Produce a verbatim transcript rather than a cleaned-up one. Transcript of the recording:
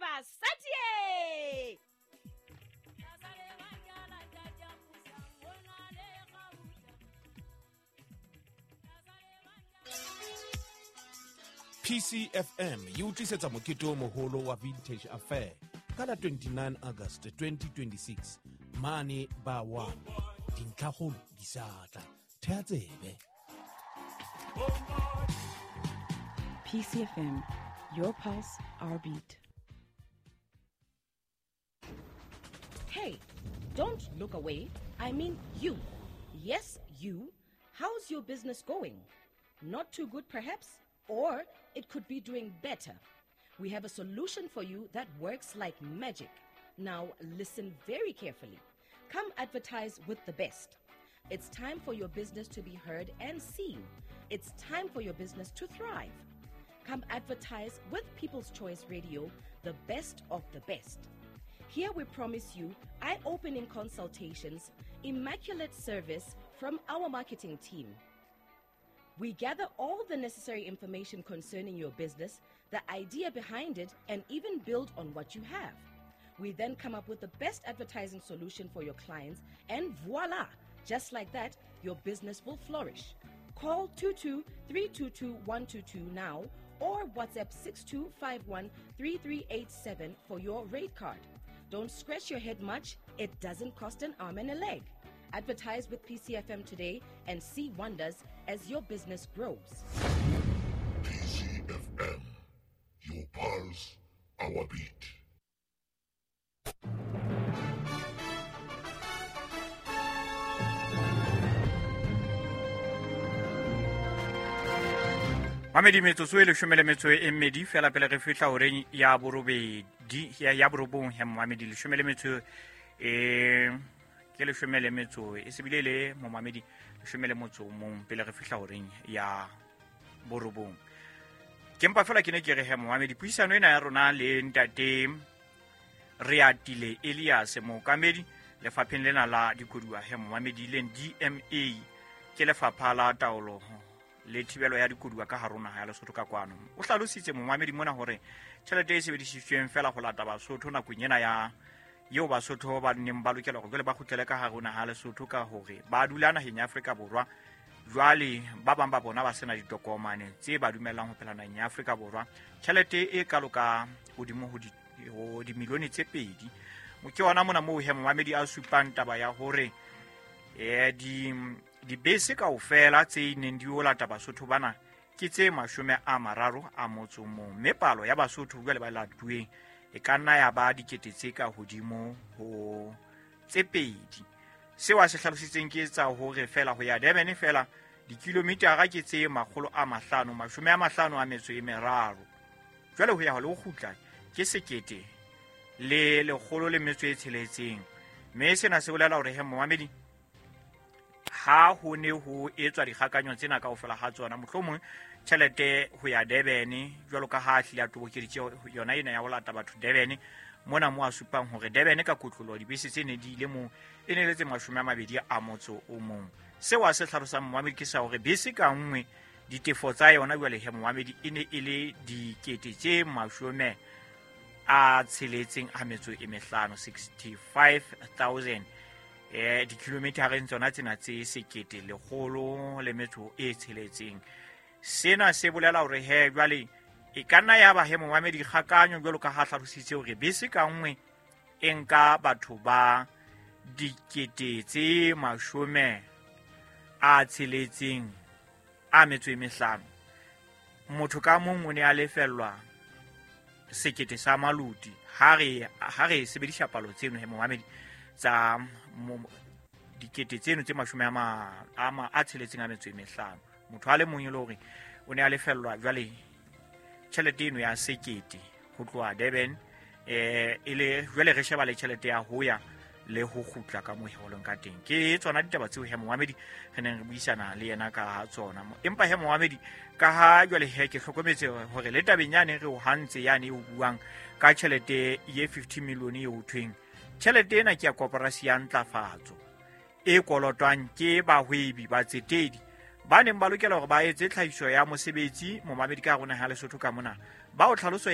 Basadi! P C F M e o tlisetsa mokete o moholo wa Vintage Affair ka la twenty-nine August twenty twenty-six mane ba one. Dintlhakgolo di sa tla. Thea tsebe. P C F M, your pulse, our beat. Hey, don't look away. I mean you. Yes, you. How's your business going? Not too good, perhaps? Or it could be doing better. We have a solution for you that works like magic. Now listen very carefully. Come advertise with the best. It's time for your business to be heard and seen. It's time for your business to thrive. Come advertise with People's Choice Radio, the best of the best. Here we promise you eye-opening consultations, immaculate service from our marketing team. We gather all the necessary information concerning your business, the idea behind it, and even build on what you have. We then come up with the best advertising solution for your clients, and voila! Just like that, your business will flourish. Call two two three two two one two two now or WhatsApp six two five one three three eight seven for your rate card. Don't scratch your head much. It doesn't cost an arm and a leg. Advertise with P C F M today and see wonders as your business grows. P C F M, your pulse, our beat. Mamedi metsotso e leshome le metso e mmedi fela pele re fihla horeng ya borobedi ya ya borobong ya mamedi leshome le metso e ke leshome le metso e sebile le momamedi leshome le motso mong pele re fihla horeng ya borobong. Ke mpa fela ke ne ke re he momamedi puisano ena ya rona le ntate Reatile Elias mookamedi lefapheng lena la dikoduwa he momamedi leng D M A ke lefapha la taolo le thibelo ya dikoduwa ka hare ho naha ya Lesotho ka kwano. O hlalositse momamedi mona hore tjhelete e sebedisitsweng fela ho lata Basotho nakong ena ya eo Basotho ba neng ba lokela hore jwale ba kgutlele ka hare ho naha ya Lesotho ka hore ba dula naheng ya Afrika Borwa. Jwale ba bang ba bona ba sena ditokomane tse ba dumellang ho phela naheng ya Afrika Borwa. Tjhelete e kalo ka hodimo ho di ho dimilione tse pedi. Ke ona mona moo he momamedi a supang taba ya hore eh di dibese kaofela tse neng di o lata Basotho bana ke tse mashome a mararo a motso mong, mme palo ya Basotho jwale ba latuweng e ka nna ya ba dikete tse ka hodimo ho tse pedi. Seo a se hlalositseng ke tsa hore fela ho ya Durban fela dikilometara ke tse makgolo a mahlano mashome a mahlano a metso e meraro, jwale ho ya ho le ho kgutla ke sekete le lekgolo le metso e tsheletseng. Mme sena se bolela hore he momamedi ha ho ne ho etswa dikgakanyo tsena kaofela ha tsona, mohlomong tjhelete ho ya Durban jwalo ka ha hlile a tobokeditse yona ena ya ho lata batho Durban mona mo a supang hore Durban ka kotlolo dibese tse ne di ile mo e ne le tse mashome a mabedi a motso o mong. Seo a se hlalosang momamedi ke sa hore bese ka nngwe ditefo tsa yona jwale he momamedi e ne e le dikete tse mashome a tsheletseng a metso e mehlano, sixty-five thousand eh dikilometereng tsona tsena tse sekete lekgolo le metso e tsheletseng. Sena se bolela hore he jwale e ka nna ya ba he momamedi kgakanyo jwalo ka ha hlalositse hore bese ka nngwe e nka batho ba dikete tse mashome a tsheletseng a metso e mehlano. Motho ka mong o ne a lefellwa sekete sa maluti ha re ha re sebedisa palo tseno he momamedi tsa dikete tseno tse mashome a ma a a tsheletseng a metso e mehlano. Motho a le mong e le hore o ne a lefellwa jwale tjhelete eno ya sekete ho tloha Durban eh e le jwale re sheba le tjhelete ya ho ya le ho kgutla ka moo ho leng ka teng. Ke tsona ditaba tseo he momamedi re neng re buisana le yena ka tsona. Empa he momamedi ka ha jwale he ke hlokometse hore le tabeng yane re o hantse yane e o buang ka tjhelete ye fifty million e ho thweng tjhelete ena ke ya koporasi ya ntlafatso e kolotwang ke bahwebi ba tsetedi ba neng ba lokela hore ba etse tlhahiso ya mosebetsi momamedi ka rona ha Lesotho ka mona. Ba o tlhaloso e